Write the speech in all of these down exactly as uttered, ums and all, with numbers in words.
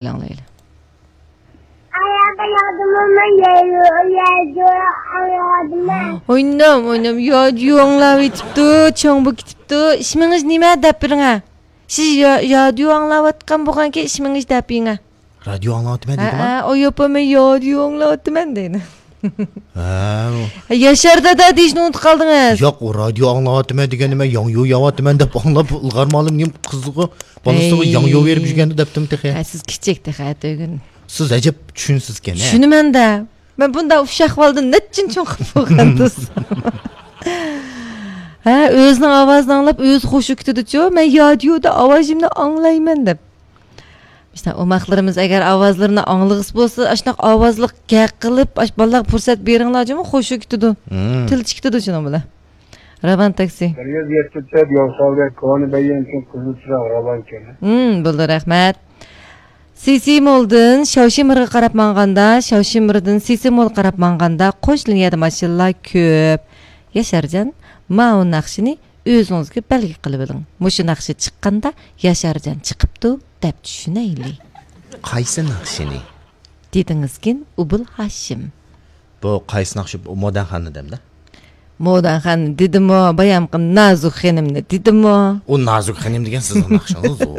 ئاڭلايلى. ئاياغدا ياغدىمۇ مەن يايدۇ، يايدۇ، ئاياغدىمۇ. ئوينام، ئوينام، يادىيو ئاڭلاۋېتىپتۇ، چوڭ بولۇپ كېتىپتۇ. ئىسمىڭىز نېمە دەپ بېرىڭە. سىز يا-، يادىيو ئاڭلاۋاتقان بولغانكەن، ئىسمىڭىز دەپ بېرىڭە. رادىيو ئاڭلاۋاتىمەن ھە، دېدىما؟ ھە، ئۇ يوپۇرماي يادىيو ئاڭلاۋاتىمەن دەيدۇ. ھە. ياشار دادا دېيىشنى ئۇنتۇپ قالدىڭىز. ياق، ئۇ رادىيو ئاڭلاۋاتىمەن دېگەندە مەن ياڭيۇ يەۋاتىمەن دەپ ئاڭلاپ، ئىلغار مۇئەللىم نېمە قىزىغا، بالىسىغا ھەي. ياڭيۇ بېرىپ يۈرگەندە دەپتىم تېخى. ھە، سىز كىچىك تېخى، ئەتىگۈن. سىز ئەجەب چۈشىنىسىزكەن، ھە؟ چۈشىنىمەن-دە. مەن بۇنداق ئۇششاق بالىدىن نەچچىنچى چوڭ قىلىپ بولغان تۇرسا. ھە، ئۆزىنىڭ ئاۋازىنى ئاڭلاپ، ئۆزى خۇشۇ كېتىدىچۇ، مەن يادىيودا ئاۋازىمنى ئاڭلايمەن دەپ. مۇشۇنداق ئوماقلىرىمىز ئەگەر ئاۋازلىرىنى ئاڭلىغۇسى بولسا، ئاشۇنداق ئاۋازلىق گەپ قىلىپ، ئاش-، بالىلارغا پۇرسەت بېرىڭلار جۇمۇ، خۇشۇ كېتىدۇ. مم. تىلچە كېتىدۇ شۇنىڭ بىلەن. راۋان تاكسى. بىر يۈز يەتتە تۆت يول ساۋدە كونى بەيگەنچىن قىزىل چىراغ راۋان كېلە. مم، بولدى، رەھمەت. سىسىمولدىن شاۋشىمىرغا قاراپ ماڭغاندا، شاۋشىمىردىن سىسىمولغا قاراپ ماڭغاندا، قوش لىنىيەدە ماشىنىلار كۆپ. ياشارجان، ماۋۇ ناخشىنى ئۆزىڭىزگە بەلگە قىلىۋېلىڭ. مۇشۇ ناخشا چىققاندا ياشارجان چىقىپتۇ دەپ چۈشىنەيلى. قايسى ناخشىنى؟ دېدىڭىزكىن، ئوبۇل ھاشىم. بۇ قايسى ناخشا؟ بۇ موداخاننى دەمدە؟ موداخاننى دېدىمۇ، بايامقى نازۇك خېنىمنى دېدىمۇ. ئۇ نازۇك خېنىم دېگەن سىزنىڭ ناخشىڭىز ئۇ.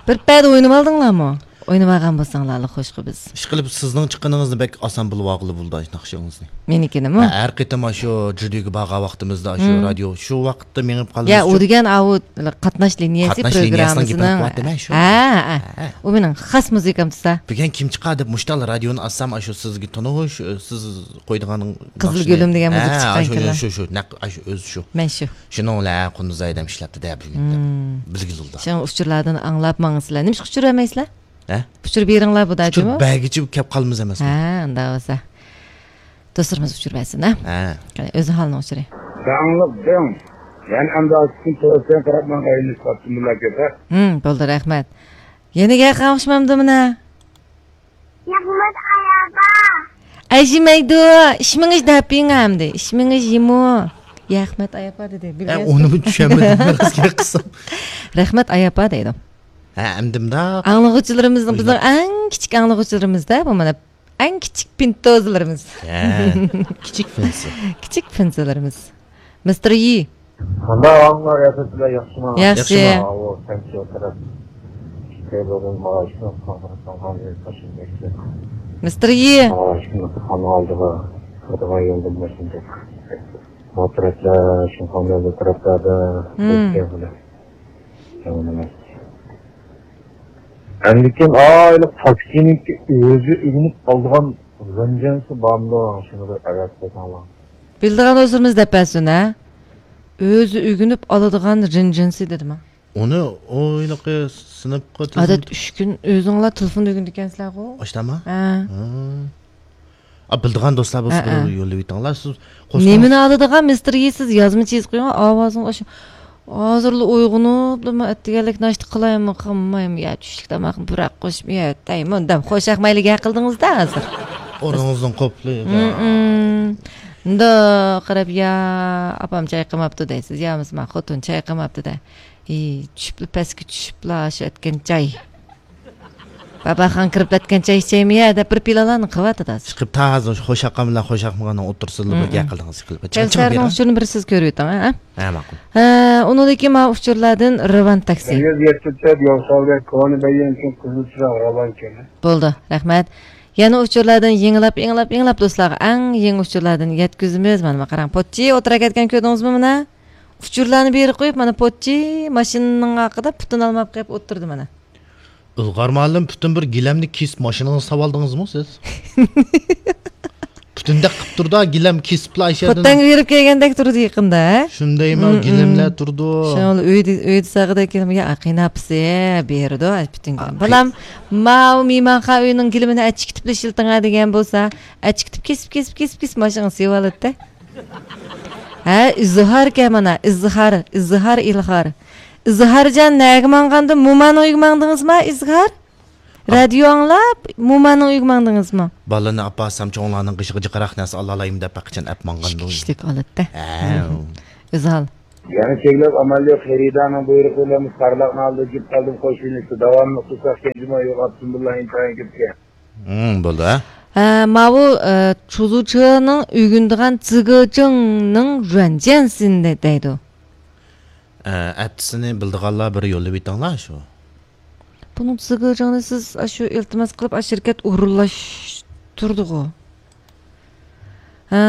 بىر پەدە ئوينىۋالدىڭلارمۇ؟ ئوينىۋالغان بولساڭلار ئاللا خوشقا بىز. ئىشقىلىپ سىزنىڭ چىققىنىڭىزنى بەك ئاسان بىلىۋالغىلى بولىدۇ ئاشۇ ناخشىڭىزنى. مېنىڭكىنىمۇ؟ ھە، ھەر قېتىم ئاشۇ جۈدۈگە بارغان ۋاقتىمىزدا ئاشۇ مم. رادىيو، شۇ ۋاقىتتا مېڭىپ يا، قالىمىز ئۇ شۇ. دېگەن ئاۋۇ قاتناش لىنىيەسى قاتناش لىنىيەسىنىڭ گېپىنى پروگراممىسىنىڭ. قىلىۋاتىمەن شۇ. ھە، ھە. ھە. ئۇ مېنىڭ خاس مۇزىكام تۇرسا. بۈگۈن كىم چىقار دەپ مۇشتال رادىيونى ئاچسام، ئاشۇ سىزگە تونۇش، سىز قويىدىغان قىزىل ناخشىنى. گۈلۈم دېگەن ھە، مۇزىكا چىققان شۇ، كېلە. شۇ، شۇ، نەق ئاشۇ ئۆزى شۇ. مەن شۇ. شۇنىڭ بىلەن قۇندۇز ھەيدەم ئىشلەپتۇ دە بۈگۈن دەپ. مم. بىلگىلى بولدى. شۇڭا ئۇچۇرلاردىن ئاڭلاپ ماڭىسىلەر. نېمىشقا ئۇچۇر بەرمەيسىلەر؟ ھە؟ ئۇچۇر بېرىڭلار بۇ ئۇچۇر داجىمۇ. بەرگۈچە كەپ قالىمىز ئەمەسمۇ؟ ھە، ئۇنداق بولسا. دوستلىرىمىز ئۇچۇر بەرسۇن، ھە؟ ھە. قېنى، ئۆزى ھالنىڭ ئۇچۇرى. داڭلىق دىڭ. يەنە ئەمدى ئاستىدىن تۆۋەن قاراپ ماڭا ئايلىنىپ قاپتۇ مۇلا كۆپە. ھىم، بولدى، رەھمەت. يەنە گەپ قالمىشمامدۇ مانا؟ ياخمەت ئاياپا. ئەجىمەيدۇ، ئىشمىڭىش دەپىڭ ئەمدى. ئىشمىڭىش يىمۇ. ياخمەت ئاياپا دېدى. ئە، بىلگەنسىز. ئۇنىمۇ چۈشەنمىدىم، قىسقا قىلسام. رەھمەت ئاياپا دەيدۇ. ھە، ئەمدى مۇنداق. ئاڭلىغۇچىلىرىمىزنىڭ، بىزنىڭ ئەڭ كىچىك ئاڭلىغۇچىلىرىمىز-دە، بۇ مانا. ئەڭ كىچىك پىنتوزلىرىمىز. ھە، كىچىك پىنسى. كىچىك پىنسىلىرىمىز. مىستېر يى. قانداق ئاڭلار ياسىسىلەر، ياخشىمۇ؟ ياخشى. ياخشىمۇ؟ ئاۋۇ، سەنچى ئوتتۇرا. مىستېر يى. ئالدىغا، ئالدىغا يولدىن باشلىدى. بۇ تەرەپلەر، شۇڭخەن يولى تەرەپلەردە. مم. ئەمدىكىن ئايلىق تاكسىنىڭكى ئۆزى ئۆگىنىپ قالىدىغان غىنجىنسى بارمىدۇ؟ شۇنى بىر ئەۋەت قىلساڭلار. بىلىدىغان دوستلىرىمىز دەپ بەرسۇن، ھە؟ ئۆزى ئۆگىنىپ ئالىدىغان غىنجىنسى دېدىما؟ ئۇنى ئويلىقى سىنىپقا تىزىم-، ئادەت ئۈچ كۈن ئۆزۈڭلار تېلېفوندا ئۆگىنىدىكەنسىلەرغۇ؟ ئاشتاما؟ ھە. ھە. ئا، بىلىدىغان دوستلار بولسا ھە، بىر ھە. يوللىۋېتىڭلار. سىز قوشۇلۇڭ. نېمىنى ئالىدىغان مىستېر يى، سىز يازمىچە يېزىپ قويۇڭ، ئاۋازىڭ ئاشۇ. ھازىرلا ئويغىنىپلا، مەن ئەتىگەنلىك ناشتا قىلايمۇ، قىلمايمۇ، يا چۈشلۈك تاماقنى پۇراق قوشۇپ يەتەيمۇ دەپ، خوش ئەخمەيلىك ھەق قىلدىڭىز-دە ھازىر. ئورنىڭىزدىن قوپلى. مۇنداق قاراپ، يا ئاپام چاي قىلماپتۇ دەيسىز، يا بولمىسا مانا خوتۇن چاي قىلماپتۇ-دە. ئى، چۈشۈپلا، پەسكە چۈشۈپلا، شۇ ئەتكەن چاي. باباخان كىرىپ ئەتكەن چاي ئىچەيمۇ يا دەپ بىر پىلانلارنى قىلىۋاتىدۇ ھازىر. چىقىپ تا ھازىر خوش ئاقام بىلەن خوش ئاقمىغاننىڭ ئوتتۇرىسىدا بىر گەپ قىلدىڭىز، چىقىپ. چىڭ، چىڭ كەۋسەرنىڭ بېرىڭ. ئۇچۇرىنى بىر سىز كۆرۈۋېتىڭ، ھە؟ ھە، ماقۇل. ھە، ئۇنىڭدىن كېيىن مانا ئۇچۇرلاردىن رىۋان تاكسى. بىر يۈز يەتتە تۆت يول ساۋدە كونى بەيگەنچىن قىزىل چىراغ راۋان كېلە. بولدى، رەھمەت. يەنە ئۇچۇرلاردىن يېڭىلاپ، يېڭىلاپ، يېڭىلاپ دوستلارغا ئەڭ يېڭى ئۇچۇرلاردىن يەتكۈزىمىز. مانا، مانا قاراڭ، پوتچى ئولتۇراپ كەتكەن كۆردىڭىزمۇ مانا؟ ئۇچۇرلارنى بېرىپ قويۇپ، مانا پوتچى ماشىنىنىڭ ئارقىدا پۇتىنى ئالماپ قېلىپ ئولتۇردى مانا. ئىلغار مۇئەللىم، پۈتۈن بىر گىلەمنى كېسىپ ماشىنىڭىزغا سالىۋالدىڭىزمۇ سىز؟ پۈتۈندەك قىپ تۇردا، گىلەم كېسىپلا ئاشۇ يەردىن. خوتەنگە بېرىپ كەلگەندەك تۇرىدۇ يېقىندا، ھە؟ شۇندايمۇ، مم، گىلەملەر مم. تۇرىدۇ. شۇڭا ئۆيدە، ئۆيدە ساغىدەك گىلەم، يا، قېيىنئاپىسى بېرىدۇ، پۈتۈن گىلەم. ئا، بالام، ماۋۇ مېھمانخانا ئۆينىڭ گىلىمىنى ئەچىكىتىپلا ئىشلىتىڭە دېگەن بولسا، ئەچىكىتىپ، كېسىپ، كېسىپ، كېسىپ، كېسىپ، ماشىنىغا سېلىۋالاتتى. ھە، ئىزھاركەن مانا، ئىزھار، ئىزھار، ئىلغار. ئىزھارجان نەگە ماڭغاندا، موماننىڭ ئۆيىگە ماڭدىڭىزما، ئىزھار؟ رادىيو ئاڭلاپ، موماننىڭ ئۆيىگە ماڭدىڭىزمۇ؟ بالىنى ئاپارسام، چوڭلارنىڭ قېشىغا جىقراق نەرسە ئالالايمەن دەپ، بەك قاچان ئەپ ماڭغان ئىككى بولدى. كىشىلىك ھالەتتە. ھە. ئۆزى ھال. يەنە چەكلەپ ئامال يوق، خېرىدارنىڭ بۇيرۇقى بىلەن بىز قارلىقنى ئالدىدا جۈپ قالدىم، قوش يۆنىلىشتە داۋاملىق تۇرساق كەنجىمۇ يوق، ئابدۇمۇللا ئىنتايىن كۆپكەن. ھىم، بولدى، ھە؟ ھە، ماۋۇ، ئە، چۇزۇچېنىڭ ئۆگىنىدىغان زىگېجىڭنىڭ رۇەنجيەنسىنى دەيدۇ. ئە، ئەپتىسىنى بىلىدىغانلار بىر يوللىۋېتىڭلار شۇ. بۇنىڭ زىگېجىڭنى سىز ئاشۇ ئىلتىماس قىلىپ، ئاشۇ شىركەت ئورۇنلاشتۇردىغۇ. ھە،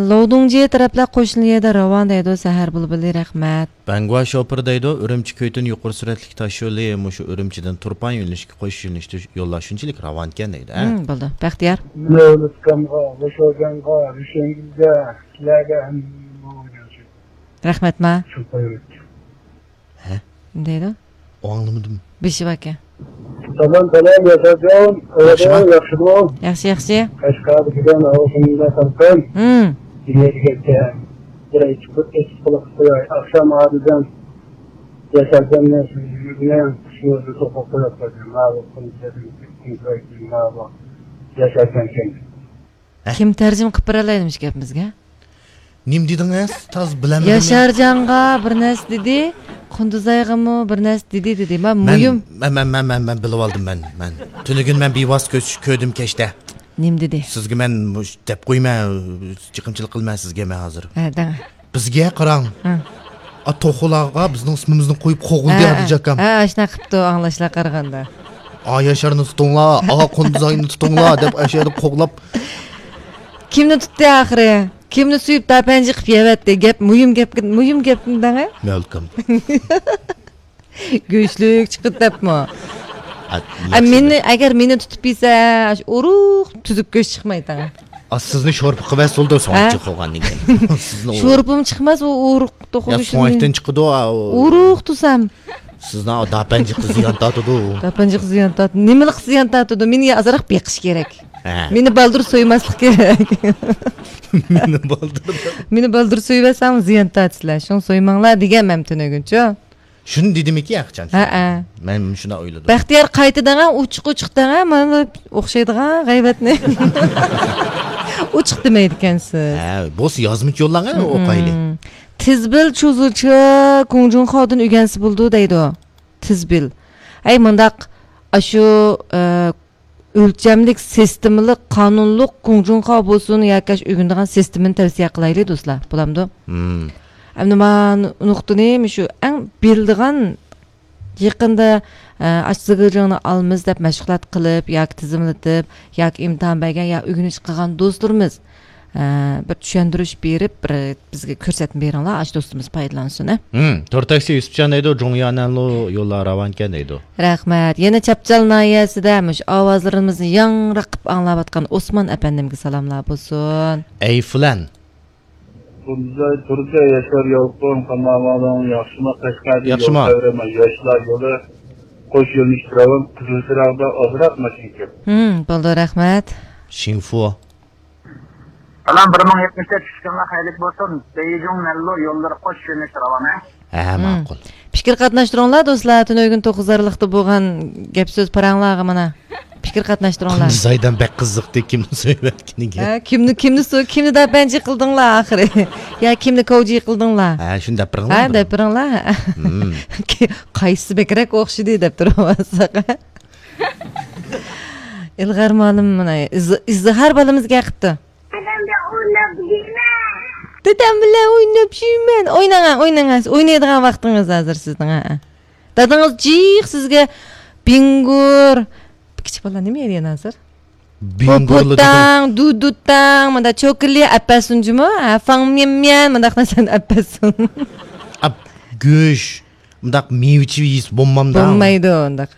لوۋدۇڭجيې تەرەپلەر قوشنا يەردە راۋان دەيدۇ، سەھەر بۇلبۇلى، رەھمەت. بەڭگۇا شوپۇر دەيدۇ، ئۈرۈمچى كۆيتۈن يۇقىرى سۈرئەتلىك تاش يولى مۇشۇ ئۈرۈمچىدىن تۇرپان يۆنىلىشكە قوش يۆنىلىشتە يوللار شۇنچىلىك راۋانكەن دەيدۇ، ھە؟ ھىم، بولدى. بەختىيار. لېۋېنسكامغا، لوشوجانغا، رۇشەنگۈلگە، سىلەرگە ھەممىگە. رەھمەت، ما. شۇ قويۇۋەتتى. ھە؟ نېمە دەيدۇ؟ ئاڭلىمىدىم. بېشى باركەن. سالام، سالام، ياشارجان. ياخشىمۇ؟ ياخشىمۇ؟ ياخشى، ياخشى. قەشقەردە كېلگەن ھاۋا شۇنداق سالقىن. ھىم. دېگەن بىر ئېيتىپ، ئېيتىپ قويۇپ قوياي. ئاخشام ئادىدىن ياشارجان بىلەن سىزنى بىلەن شۇ يەردە توختاپ قويۇپ قويدۇم. ماۋۇ قۇمسەدىن، قۇمسەدىن ماۋۇ ياشارجان كەلدى. ھە؟ كىم تەرجىمە قىلىپ بېرەلەيدۇ مۇشۇ گەپىمىزگە؟ نېمە دېدىڭىز؟ تاز بىلەلمىدىم. ياشارجانغا بىر نەرسە دېدى، قۇندۇزايغىمۇ بىر نەرسە دېدى، دېدى. مەن، مەن مۇھىم. مەن، مەن، مەن، مەن بىلىۋالدىم، مەن، مەن. تۈنۈگۈن مەن بىۋاسىتە كۆز-، كۆردۈم كەچتە. نېمە دېدى؟ سىزگە مەن مۇش-، دەپ قويىمەن، چېقىمچىلىق قىلىمەن سىزگە مەن ھازىر. ھە، دەڭ. بىزگە قاراڭ. ھە. ئا، توخۇلارغا بىزنىڭ ئىسمىمىزنى قويۇپ قوغلىدى ھە، ئادىل ئاكام. ھە، ئاشۇنداق قىپتۇ، ئاڭلاشلار قارىغاندا. ئا ياشارنى تۇتۇڭلار، ئا قۇندۇزاينى تۇتۇڭلار دەپ ئاشۇ يەردە قوغلاپ. كىمنى تۇتتى ئاخىرى؟ كىمنى سۆيۈپ داپەنجى قىلىپ يەۋەتتى؟ گەپ، مۇھىم گەپ، مۇھىم گەپنى دەڭە. مەلكەم. گۆشلۈك چىقىپ دەپمۇ؟ ئە، مېنى، ئەگەر مېنى تۇتۇپ يېسە، ئاشۇ ئورۇق تۈزۈك گۆش چىقمايتتى. ئا، سىزنى شورپا قىلىۋەتسە بولدى، ھە؟ سوڭچى قىلغاندىن كېيىن. شورپىمۇ چىقماس، ئۇ ئورۇق توخۇ گۆشىنى. سوڭەكتىن چىقىدۇ، ئا، ئۇ. ئورۇق تۇسام. سىزنىڭ داپەنجىقى زىيان تارتىدۇ. داپەنجىقى زىيان تارتىدۇ. نېمىلىك زىيان تارتىدۇ؟ مېنى ئازراق بېقىش كېرەك. ھە. مېنى بالدۇر سويماسلىق كېرەك. مېنى بالدۇر. مېنى بالدۇر سويۇۋەتسەڭ زىيان تارتىسىلەر. شۇڭا سويماڭلار دېگەنمەن تۈنۈگۈنچۇ. شۇنى دېدىمىكى ھەقىچان؟ ھەئە. مەن شۇنداق ئويلىدىم. بەختىيار قايتا دەڭە، ئوچۇق، ئوچۇق دەڭە، مانا ئوخشايدىغان غەيۋەتنى. ئوچۇق دېمەيدىكەنسىز. ھە، بولسا يازمىچە يوللاڭە، ئوقايلى. تىزبىل چۇزۇچى كۇڭجۇڭخاۋدىن ئۆگەنسە بولىدۇ دەيدۇ. تىزبىل. ئەي مۇنداق، ئاشۇ، ئە، ئۆلچەملىك، سىستېمىلىق، قانۇنلۇق گۇڭجۇڭخاۋ بولسۇن ياكى ئاشۇ ئۆگىنىدىغان سىستېمىنى تەۋسىيە قىلايلى، دوستلار. بولامدۇ؟ مم. ئەمدى مانا نۇقتىنى مۇشۇ ئەڭ بىلىدىغان، يېقىندا، ئە، ئاشۇ زىگىجىڭنى ئالىمىز دەپ مەشغۇلات قىلىپ ياكى تىزىملىتىپ ياكى ئىمتىھان بەرگەن يا ئۆگىنىش قىلغان دوستلىرىمىز، ئە، بىر چۈشەندۈرۈش بېرىپ، بىر بىزگە كۆرسەتمە بېرىڭلار، ئاشۇ دوستىمىز پايدىلانسۇن، ھە. ھىم، تور تاكسى يۈسۈپجان دەيدۇ، جۇڭيانەنلۇ يوللار راۋانكەن دەيدۇ. رەھمەت. يەنە چاپچال ناھىيەسىدە مۇشۇ ئاۋازلىرىمىزنى ياڭراق قىلىپ ئاڭلاۋاتقان ئوسمان ئەپەندىمگە سالاملار بولسۇن. ئەي فلان. تۇردى، تۇردى، ياشار يالقۇن، قانداق ئەھۋالىڭ؟ ياخشىما؟ قەشقەردىن يول ياخشىما؟ قايرىما، ياشلار يولى، قوش يۆنىلىش راۋان، قىزىل چىراغدا ئازراق ماشىنا كۆپ. ھىم، بولدى، رەھمەت. شىنفۇ. سالام، بىر مىڭ يەتمىش تۆت، چۈشكۈنلەر خەيرلىك بولسۇن. بېيجىڭ، نەنلۇ يوللىرى قوش يۆنىلىشتە راۋان، ھە؟ ھە، مم. ماقۇل. پىكىر قاتناشتۇرۇڭلار، دوستلار. تۈنۈگۈن توققۇز ئارىلىقتا بولغان گەپ سۆز پاراڭلارغا مانا. پىكىر قاتناشتۇرۇڭلار. قۇندۇزايدان بەك قىزىقتى، كىمنى سۆيۈۋەتكىنىگە. ھە، كىمنى، كىمنى سۆ-، كىمنى داپەنجى قىلدىڭلار ئاخىرى؟ يا كىمنى كوجى قىلدىڭلار؟ ھە، شۇنى دەپ بېرىڭلار ھە، بىر. دەپ بېرىڭلار. مم. قايسىسى بەكرەك ئوخشىدى دەپ تۇرۇۋالساق. ئىلغار مۇئەللىم مانا ئىز-، ئىزدىھار بالىمىزغا قىپتۇ. دادام بىلەن ئويناپ يۈرمەن. دادام بىلەن ئويناپ يۈرمەن. ئويناڭ، ئويناڭ. ئوينايدىغان ۋاقتىڭىز ھازىر سىزنىڭ، ھە. دادىڭىز جىق سىزگە بىڭگۇر. كىچىك بالىلار نېمە يەيدىغان ھازىر؟ بىڭگۇرلا داداڭ. پوپۇتاڭ، دۇدۇتاڭ، مۇنداق چوكىلى ئەپەسۇن جۇمۇ. ھە، فاڭميەنميەن، مۇنداق نەرسىلەرنى ئەپەسۇن. ئاپ، گۆش. مۇنداق مېۋە-چېۋە يېسە بولمامدا؟ بولمايدۇ ئۇنداق.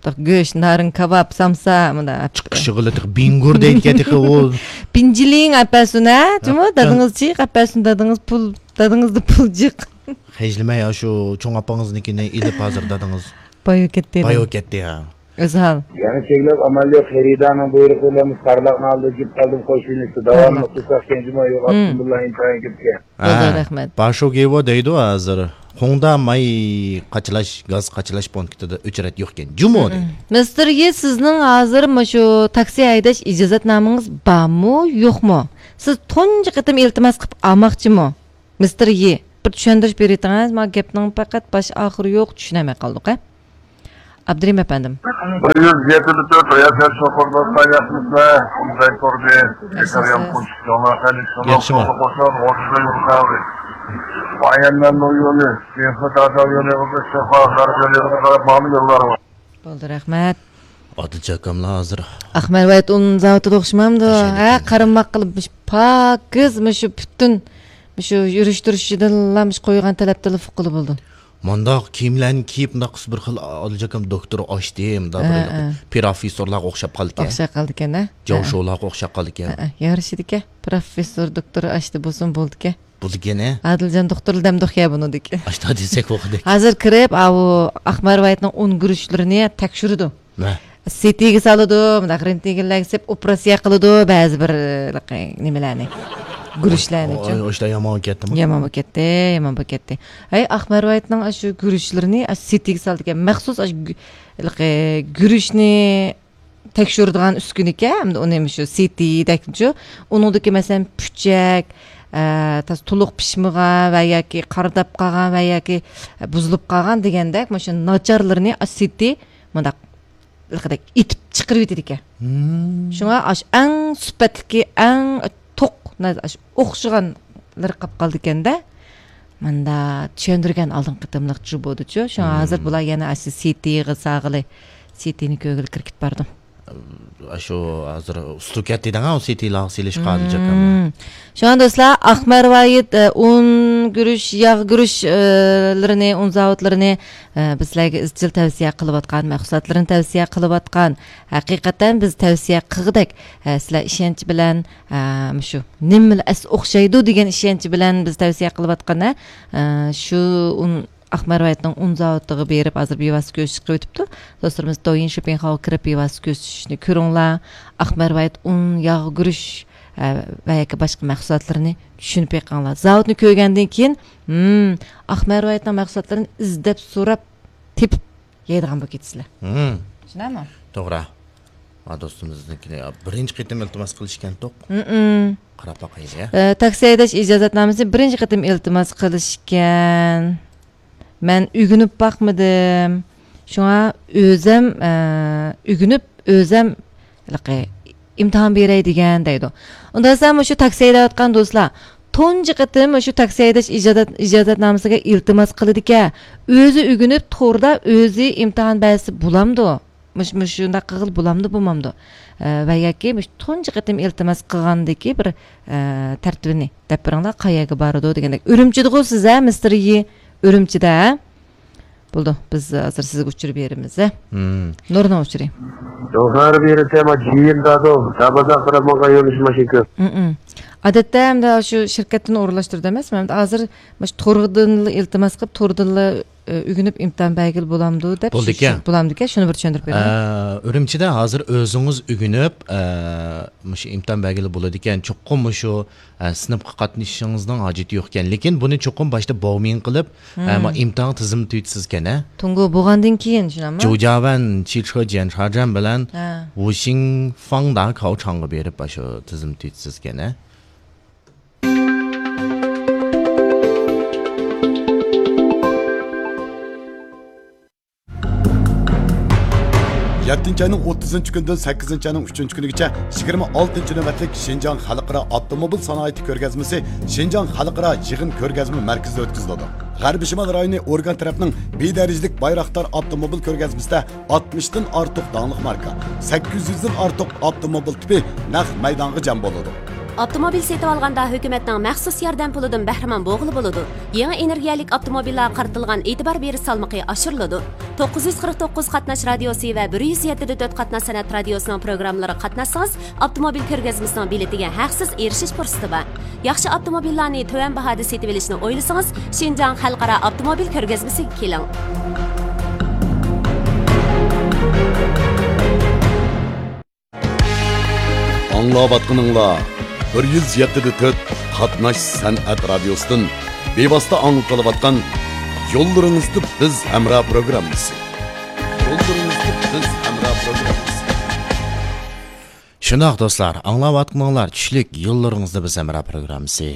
مۇنداق گۆش، نارىن، كاۋاپ، سامسا، مۇنداق. چىقىشىغىلا تېخى بىڭگۇر دەيدىكەن تېخى ئۇ. بىنجىلىڭ ئەپەسۇن ھە؟ جۇمۇ، ھە، دادىڭىز جىق ئەپەسۇن، دادىڭىز پۇل، دادىڭىزدا پۇل جىق. خەجلىمەي، ئاشۇ چوڭ ئاپىڭىزنىڭكىنى ئېلىپ ھازىر دادىڭىز. بايا كەتتى. بايا كەتتى، ھە. ئۆزھال. يەنە چەكلەپ ئامال يوق، خېرىدارنىڭ بۇيرۇقى بىلەن مۇشۇ قارلىقنى ئالدى جۈپ قالدىم، قوش يۆنىلىشتە داۋاملىق تۇرساق كەنجىمۇ يوق، ئابدۇللا ئىنتايىن كۆپكەن. بولدى، ھە، رەھمەت. باشوگېۋو دەيدۇ ھازىر. خۇڭدا ماي قاچىلاش، گاز قاچىلاش پونكىتىدا ئۆچرەت يوقكەن. جۇمۇ دەيدۇ. مىستېر يى، سىزنىڭ ھازىر مۇشۇ تاكسى ھەيدەش ئىجازەتنامىڭىز بارمۇ، يوقمۇ؟ سىز تۇنجى قېتىم ئىلتىماس قىلىپ ئالماقچىمۇ؟ مىستېر يى. بىر چۈشەندۈرۈش بېرىۋېتىڭىز، مانا گەپنىڭ پەقەت باش ئاخىرى يوق، چۈشىنەلمەي قالدۇق ھە. ئابدۇرېھىم ئەپەندىم. بىر يۈز يەتتە تۆت رىياسەت شوپۇرلۇققا ياقمىسىلەر، زەي كوردى، ياشىسىز. ئەكرەم قۇنچۇقچىلار، خەلىل شۇناق، ياخشىما؟ قوشۇن، غوشىدە يۈرسەۋى. بايەنلەرنىڭ يولى، يېڭى تازا يولى، شەفا غەرب يولى، قاراپ ماڭغان يوللار بار. بولدى، رەھمەت. ئادىلجان ئاكاملا ھازىر. ئاقمەر ۋايت ئۇن زاۋۇتىدا ئوخشىمامدۇ؟ ھە، قارىماق قىلىپ، مۇشۇ پاكىز، مۇشۇ پۈتۈن، مۇشۇ يۈرۈشتۈرۈشىدىنلا مۇشۇ قويغان تەلەپتىنلا ئۇققىلى بولىدۇ. مۇنداق كىيىملەرنى كىيىپ، مۇنداق قىلسا بىر خىل ئادىلجان ئاكام دوكتور ئاچتى، مۇنداق ھە، بىر ھە. پروفېسسورلارغا ئوخشاپ قالىدىكەن. ئوخشاپ قالىدىكەن ھە. جاۋ ھە، ھە. شولاغا ئوخشاپ قالىدىكەن. ھە، ھە. يارىشىدىكەن. پروفېسسور، دوكتور ئاچتى بولسۇن بولىدىكەن. بولىدىكەن ھە. ئادىلجان دوختۇر دەمدۇق يا بۇنىدىكى. ئاشتا دېسەك بولغۇدەك. ھازىر كىرىپ، ئاۋۇ ئاقمەر ۋايتنىڭ ئۇن گۈرۈچلىرىنى تەكشۈرىدۇ. ھە. سىتىگە سالىدۇ، مۇنداق رېنتگېنلەرگە سېلىپ ئوپېراتسىيە قىلىدۇ، بەزى بىر، ھېلىقى نېمىلەرنى، گۈرۈچلەرنىچۇ. ئوي، ئوي، ئوي، يامان بولۇپ كەتتىمۇ؟ يامان بولۇپ كەتتى، يامان بولۇپ كەتتى. ھەي، ئاقمەر ۋايتنىڭ ئاشۇ گۈرۈچلىرىنى ئاشۇ سىتىگە سالىدىكەن. مەخسۇس ئاشۇ گۈ-، ھېلىقى گۈرۈچنى تەكشۈرىدىغان ئۈسكۈنىكەن، ئەمدى ئۇنى مۇشۇ سىتىدەكچۇ. ئۇنىڭدىكى، مەسىلەن، پۇچەك، ئە، تازا تولۇق پىشمىغان ۋە ياكى قارىداپ قالغان ۋە ياكى بۇزۇلۇپ قالغان دېگەندەك، مۇشۇ ناچارلىرىنى ئاشۇ سىتى مۇنداق لىقىدەك ئېتىپ چىقىرىۋېتىدىكەن. مم. شۇڭا ئاشۇ ئەڭ سۈپەتلىكى، ئەڭ توق، ئاشۇ ئوخشىغانلىرى قاپ قالىدىكەندە. ماندا چۈشەندۈرگەن ئالدىنقى قېتىملىقچۇ بولدىچۇ. شۇڭا مم. ھازىر بۇلار يەنە ئاشۇ سىتىغا ساغىلى، سىتىنى كۆرگىلى كىرىپ كەتتىم. ئاشۇ ھازىر ئۇسسۇل كەتتى دەڭ، ئۇ سىتىلارغا سېلىشقا ئادىلجان ئاكام. مم. شۇڭا دوستلار، ئاقمەر ۋايىت، ئە، ئۇن گۈرۈچ، ياغ گۈرۈچ، ئە، لىرىنى، ئۇن زاۋۇتلىرىنى، ئە، بىز سىلەرگە ئىزچىل تەۋسىيە قىلىۋاتقان، مەھسۇلاتلىرىنى تەۋسىيە قىلىۋاتقان. ھەقىقەتەن بىز تەۋسىيە قىلغۇدەك، ئە، سىلەر ئىشەنچ بىلەن، ئە، مۇشۇ نېمىلا ئەس ئوخشايدۇ دېگەن ئىشەنچ بىلەن بىز تەۋسىيە قىلىۋاتقان، ئە، شۇ ئۇن ئاقمەر ۋايتنىڭ ئۇن زاۋۇتىغا بېرىپ، ھازىر بىۋاسىتە كۆرۈشۈشكە ئۆتۈپتۇ. دوستلىرىمىز دويىن شوپىڭخاۋغا كىرىپ، بىۋاسىتە كۆرۈشۈشنى كۆرۈڭلار. ئاقمەر ۋايت ئۇن، ياغ گۈرۈچ، ئە، ۋە ياكى باشقا مەھسۇلاتلىرىنى چۈشىنىپ بېقىڭلار. زاۋۇتنى كۆرگەندىن كېيىن، ھىم، ئاقمەر ۋايتنىڭ مەھسۇلاتلىرىنى ئىزدەپ، سوراپ، تېپىپ يەيدىغان بولۇپ كېتىسىلەر. ھىم. چۈشىنەمۇ؟ توغرا. ھا، دوستىمىزنىڭكىنى بىرىنچى قېتىم ئىلتىماس قىلىشكەنتۇق. ھىم. قاراپ باقايلى، يا. ئە، تاكسى ھەيدەش ئىجازەتنامىسى بىرىنچى قېتىم ئىلتىماس قىلىشكەن. مەن ئۆگىنىپ باقمىدىم. شۇڭا ئۆزەم، ئە، ئۆگىنىپ، ئۆزەم ھېلىقى ئىمتىھان بېرەي دېگەن دەيدۇ. ئۇنداق دېسەم، مۇشۇ تاكسى ھەيدەۋاتقان دوستلار، تۇنجى قېتىم مۇشۇ تاكسى ھەيدەش ئىجازەت-، ئىجازەتنامىسىگە ئىلتىماس قىلىدىكەن. ئۆزى ئۆگىنىپ، توردا ئۆزى ئىمتىھان بەرسە بولامدۇ؟ مۇش-، مۇشۇنداق قىلغىلى بولامدۇ، بولمامدۇ؟ ئە، ۋە ياكى مۇشۇ تۇنجى قېتىم ئىلتىماس قىلغاندىكى بىر، ئە، تەرتىپىنى دەپ بېرىڭلار، قەيەرگە بارىدۇ دېگەندەك. ئۈرۈمچىدىغۇ سىز، ھە، مىستېر يى؟ ئۈرۈمچىدە، ھە؟ بولدى، بىز ھازىر سىزگە ئۇچۇر بېرىمىز، ھە؟ مم. نۇرنىڭ ئۇچۇرى. يوقلار بېرىتەما جىيىن دادو، دابازاق تەرەپمىڭغا يۆنىلىش ماشىنا كۆپ. مم. ئادەتتە ئەمدى شۇ شىركەتتىن ئورۇنلاشتۇرىدۇ ئەمەسمۇ؟ ئەمدى ھازىر مۇشۇ توردىنلا ئىلتىماس قىلىپ، توردىنلا ئۆگىنىپ ئىمتىھان بەرگىلى بولامدۇ دەپ. بولىدىكەن. شۇ، شۇ، بولامدىكەن، شۇنى بىر چۈشەندۈرۈپ بېرىڭ. ئە، ئۈرۈمچىدە ھازىر ئۆزىڭىز ئۆگىنىپ، ئە، مۇشۇ ئىمتىھان بەرگىلى بولىدىكەن. چوقۇم مۇشۇ، ئە، سىنىپقا قاتنىشىشىڭىزنىڭ ھاجىتى يوقكەن. لېكىن بۇنى چوقۇم باشتا باۋمىڭ قىلىپ، ئە، مم. ما ئىمتىھان تىزىم تۈيتىسىزكەن، ھە؟ تۇڭگو بولغاندىن كېيىن، شۇنداقمۇ؟ جۇجاۋەن چىچخې جيەنچاجەن بىلەن ھە. ۋۇشىڭفاڭدا كاۋچاڭغا بېرىپ، ئاشۇ تىزىم تۈيتىسىزكەن، ھە؟ يەتتىنچى ئاينىڭ ئوتتۇزىنچى كۈنىدىن سەككىزىنچى ئاينىڭ ئۈچىنچى كۈنىگىچە يىگىرمە ئالتىنچى نۆۋەتلىك شىنجاڭ خەلقئارا ئاپتوموبىل سانائىتى كۆرگەزمىسى شىنجاڭ خەلقئارا يىغىن كۆرگەزمە مەركىزىدە ئۆتكۈزۈلىدۇ. غەربىي شىمال رايونى ئورگان تەرەپنىڭ بىدەرىجىلىك بايراقدار ئاپتوموبىل كۆرگەزمىسىدە ئاتمىشتىن ئارتۇق داڭلىق ماركا، سەككىز يۈزدىن ئارتۇق ئاپتوموبىل تىپى نەق مەيدانغا جەم بولىدۇ. ئاپتوموبىل سېتىۋالغاندا ھۆكۈمەتنىڭ مەخسۇس ياردەم پۇلىدىن بەھرىمەن بولغىلى بولىدۇ. يېڭى ئېنېرگىيەلىك ئاپتوموبىللارغا قارىتىلغان ئېتىبار بېرىش سالمىقى ئاشۇرۇلىدۇ. توققۇز يۈز قىرىق توققۇز قاتناش رادىيوسى ۋە بىر يۈز يەتتە دە تۆت قاتناش سەنئەت رادىيوسىنىڭ پروگراممىلىرىغا قاتناشسىڭىز، ئاپتوموبىل كۆرگەزمىسىنىڭ بېلىتىگە ھەقسىز ئېرىشىش پۇرسىتى بار. ياخشى ئاپتوموبىللارنى تۆۋەن باھادا سېتىۋېلىشنى ئويلىسىڭىز، شىنجاڭ خەلقئارا ئاپتوموبىل كۆرگەزمىسىگە كېلىڭ. ئاڭلاۋاتقىنىڭلار بىر يۈز يەتتە دە تۆت قاتناش سەنئەت رادىيوسىدىن بىۋاسىتە ئاڭلىتىلىۋاتقان يوللىرىڭىزدا بىز ھەمراھ پروگراممىسى. يوللىرىڭىزدا بىز ھەمراھ پروگراممىسى. شۇنداق دوستلار، ئاڭلاۋاتقىنىڭلار چۈشلۈك يوللىرىڭىزدا بىز ھەمراھ پروگراممىسى.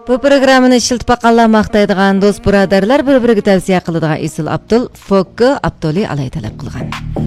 بۇ پروگراممىنى ئىشلىتىپ باققانلار ماختايدىغان، دوست بۇرادەرلەر بىر-بىرىگە تەۋسىيە قىلىدىغان ئېسىل ئابدۇل، فوككو ئابدۇلى ئالاي تەلەپ قىلغان.